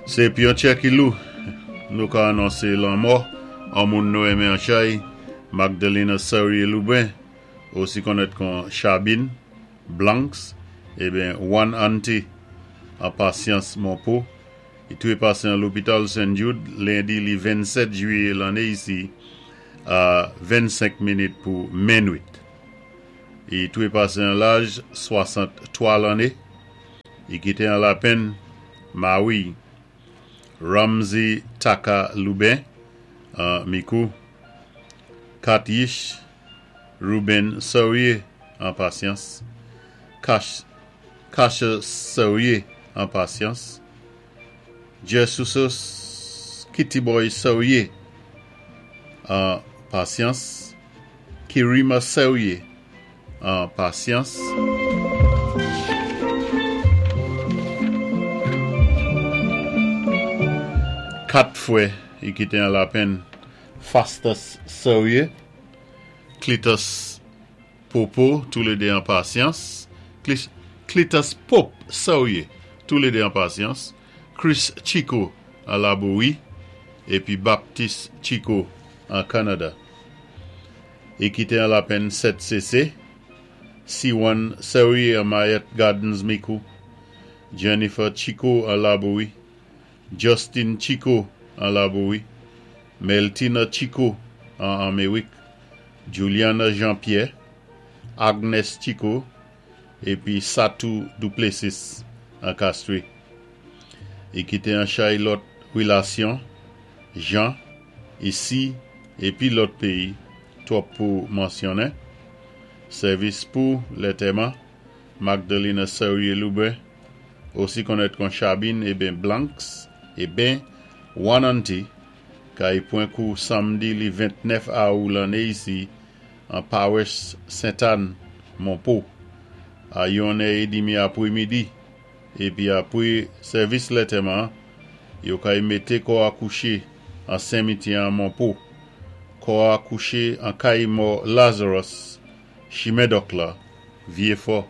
Sé pi an tchè ki lou, nou ka anonsé lanmò an moun nou enmen an chay, Magdalena Saurier Lubin, osi konnèt kon Chabine Blancs, eben One Auntie an Pasyans Monpo, i twépasé an lopital St. Jude lendi li 27 jwiyé lanné isi a 25 minit pou menwit. I twépasé an laj 63 lanné. I kité an lapenn mawi'y Ramsey Taka Lubin an Mikou, 4 yich Ruben Saurier an Pasyans, Kasha Saurier an Pasyans, Jesusos Kitty Boy Saurier an Pasyans, Kirima Saurier an Pasyans. 4 fwè i kité an lapenn Fastus Saurier, Clitus Popo toulédé an Pasyans, Clitus Pope Saurier toulédé an Pasyans, Chris Chico an Labowi épi Baptiste Chico an Kanada. I kité an lapenn 7 sésé, Siwan Saurier an Mayette Gardens Mikou, Jennifer Chico an Labowi, Justin Chico an Labowi, Meltina Chico an Anméwik, Juliana Jean-Pierre, Agnes Chico épi Satou Duplessis an Castries. I kité an chay lòt wilasyon, jan, isi épi lòt péyi, twòp pou mansyonnen. Sèvis pou lètèman, Magdalena Saurier Lubin, osi konnèt kon Chabine eben Blancs eben One Auntie, kay pwan kou samdi li 29 awou lanné isi an Pawès Sent Ann, Monpo, a yon è édimi apwémidi, épi apwé sèvis lètèman, yo kay mété kò a kouché an senmityè an Monpo. Kò a kouché an kay mò Lazarus, chimen Dòk la, Vyé Fò.